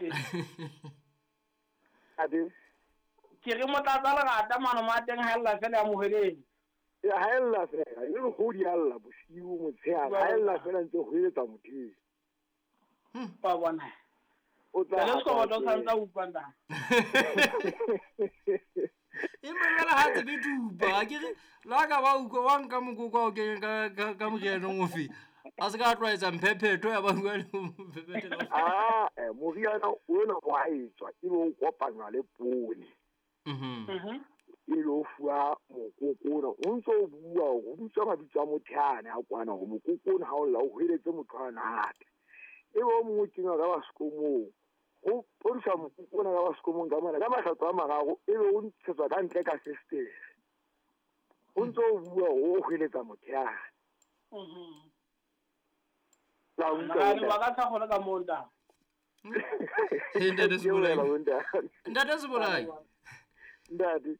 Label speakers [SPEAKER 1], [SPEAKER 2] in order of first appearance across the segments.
[SPEAKER 1] Ntate.
[SPEAKER 2] Ade.
[SPEAKER 1] Ke re motlatsa lerata mano ma teng ha ella fela ya moheleng.
[SPEAKER 2] Ya ha ella fela, e le ho di alla bosiu motshehare, ha ella fela ntse ho eletsa motho.
[SPEAKER 1] Wa bona.
[SPEAKER 2] O tla
[SPEAKER 1] Jwale Sekoboto o santse a utlwa ntate.
[SPEAKER 3] Empa jwale ha tsebe thupa, ke re le ha ka ba utlwa wa nka mokoko wa o kenya ka morianeng ofe. A se ka tlwaetsa mphephetho ya ba bua le mphephetho.
[SPEAKER 2] Ah, moriana ona wa etswa e be o kopanywa le poone. E le o fuwa mokoko ona, o ntso o bua o bitswa mabitso a motho ane a kwana hore mokoko ona ha o lla o hweletse motho ana hape. E be o mongwe o kenywa ka basekomong, ho podisa mokoko ona ka basekomong ka mona ka makgetlo a mararo, e be o ntshetswa ka ntle ka festere. O ntso o bua o hweletsa motho ane. La utlwa
[SPEAKER 1] Ba ka sa kgone ka moo ntate.
[SPEAKER 3] Ntate Sebolai. Ntate Sebolai.
[SPEAKER 2] Ntate.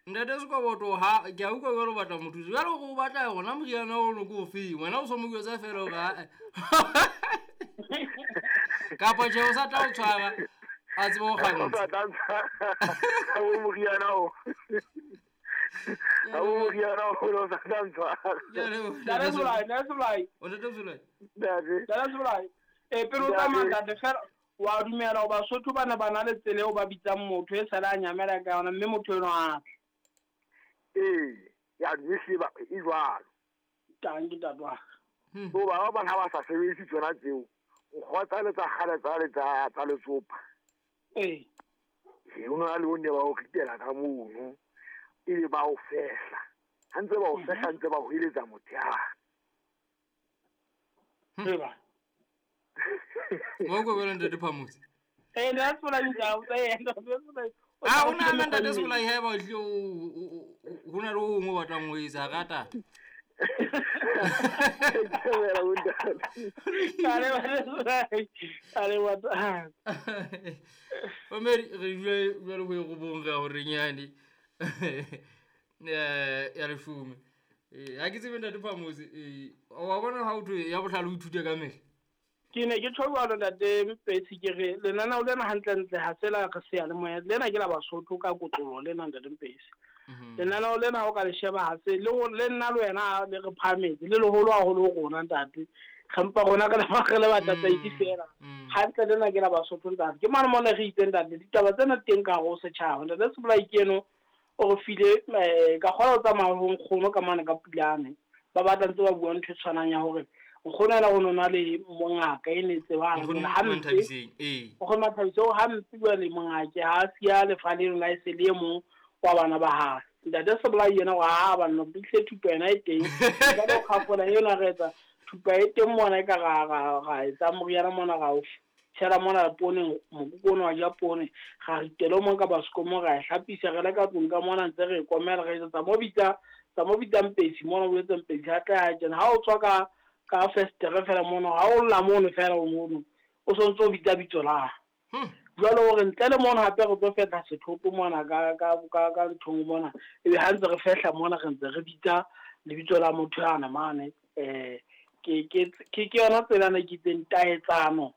[SPEAKER 3] Ntate Sekoboto ha ke a utlwa jwalo o batla mothusi. Jwale hore o batla yona moriana ono ke ofeng? Wena o so mo jwetsa fela hore ha kapa tjhe o sa tla o tshwara a tsebe ho kgantsha.
[SPEAKER 2] O sa tla ntshwara. Ha o moriana o. Ha o moriana o o sa tla ntshwara.
[SPEAKER 1] Ntate Sebolai, Ntate Sebolai.
[SPEAKER 3] O Ntate Sebolai.
[SPEAKER 2] Ntate.
[SPEAKER 1] Ntate Sebolai. Pele o tsamaya ntate fela wa dumela hoba Basotho bana ba na le tsela eo ba bitsang motho e sale a nyamela ka yona mme motho eno a tle.
[SPEAKER 2] Ee, ya mme e jwalo.
[SPEAKER 1] Tang ke ntate wa ka.
[SPEAKER 2] So ba bang ha ba sa sebedise tsona tseo, nkgwa tsale tsa kgale tsale tsa letsopa.
[SPEAKER 1] Ee.
[SPEAKER 2] E o na le o ne ba o ritela ka mono, ebe ba o fehla. Ha ntse ba o fehla ntse ba hweletsa motho ya.
[SPEAKER 1] Eba.
[SPEAKER 3] Wa utlwa jwale ntate Phamotse?
[SPEAKER 1] Eh, ntate Sebolai ntate, ntate Sebolai.
[SPEAKER 3] A o nahana ntate Sebolai haeba o hlile ho na le ho hong o batlang ho etsa rata. Mamedi re dula jwale ho e robong re ya hore nyane ya leshome. Ha ke tsebe ntate Phamotse, wa bona ha o thwe ya bohlale o ithute ka mehla.
[SPEAKER 1] Ke ne ke tjho jwalo ntate Mpetsi ke re lenaneo lena hantlentle ha se la re seyalemoya, lena ke la Basotho ka kotloloho lena ntate Mpetsi. Lenaneo lena ha o ka le sheba ha se le le nna le wena le re phahametse le leholo haholo ho rona ntate. Re mpa rona re le batataisi fela. Hantle lena ke la Basotho ntate. Ke mane mona re itseng ntate ditaba tsena teng ka hare ho setjhaba. Ntate Sebolai ke eno o re file ka kgona ho tsamaya ho nkgono ka mane ka Pulane. Ba batla ntse ba bua ntho e tshwanang ya hore nkgono ena ho nona le mongaka e ne tsebang hampe. Nkgono Manthabiseng hampe jwale mongake ha siya lefa leno la e se le e mong wa bana ba hae. Ntate Sebolai yena wa ha banna tle thupa yena e teng. Ka lo kgafola ena re etsa thupa e teng mona e ka ra etsa moriana mona ra o tshela mona poone mokoko ona wa ja poone ra ritela o mong ka basekomo ra e hlapisa re le ka tlung ka mona ntse re e komela re etsa mo bitsa tsa mo bitsa Mpetsi mona o etsa Mpetsi ha tla ha tjena ha o tswa ka festere fela mono ha o lla mono fela o mono o sontso o bitsa bitso la. Jwale hore ntle le mono hape re tlo fehla sethoto mona ka nthong mona ebe ha ntse re fehla mona re ntse re bitsa lebitso la motho yana mane. Ke yona tsela ne ke itseng taetsano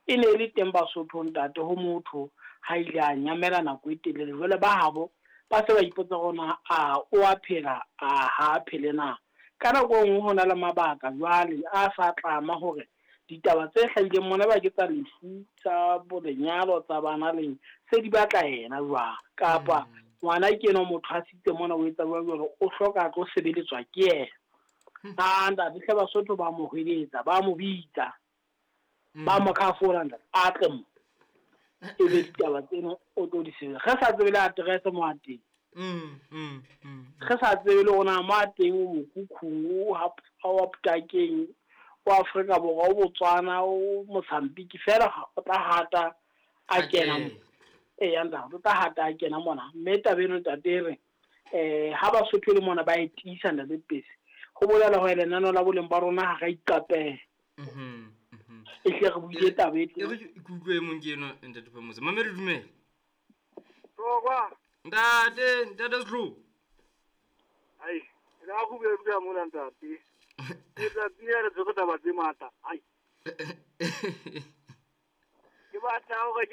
[SPEAKER 1] e ne le teng Basotho ntate ho motho ha ile a nyamela nako e telele. Jwale ba habo ba se ba ipotsa hore a o a phela a ha phele na. Ka nako e nngwe ho na le mabaka jwale a sa tlama hore ditaba tse hlahileng mona ba ke tsa lefu tsa bolenyalo tsa bana leng se di batla yena jwang kapa ngwana ke eno motho a sitse mona o etsa jwang jwale o hloka tlo sebeletswa ke yena. A ntate hle Basotho ba mo hweletsa ba mo bitsa ba mo khafola ntate a tle mo e be ditaba tseno o tlo di sebetsa. Re sa tsebe le address mo a teng. Re sa tsebe le hore na mo a teng o mokhukhung o wa Putakeng o Afrika Borwa o Botswana o Mozambique fela o tla hata a kena mo. Eya ntate o tla hata a kena mona mme taba eno ntate re ha Basotho le mona ba e tiisa ntate Mpetsi ho bolela hore lenaneo la boleng ba rona ha ra iqapela. E hle re buile taba e teng.
[SPEAKER 3] E re ke utlwe e mong ke eno ntate Phamotse. Mamedi dumela.
[SPEAKER 2] Tokwa.
[SPEAKER 3] Ntate, ntate Setlou.
[SPEAKER 2] Ai, la go bua mona ntate. Ke tla tsira le tshwere taba tse matla. Ai. Ke batla hore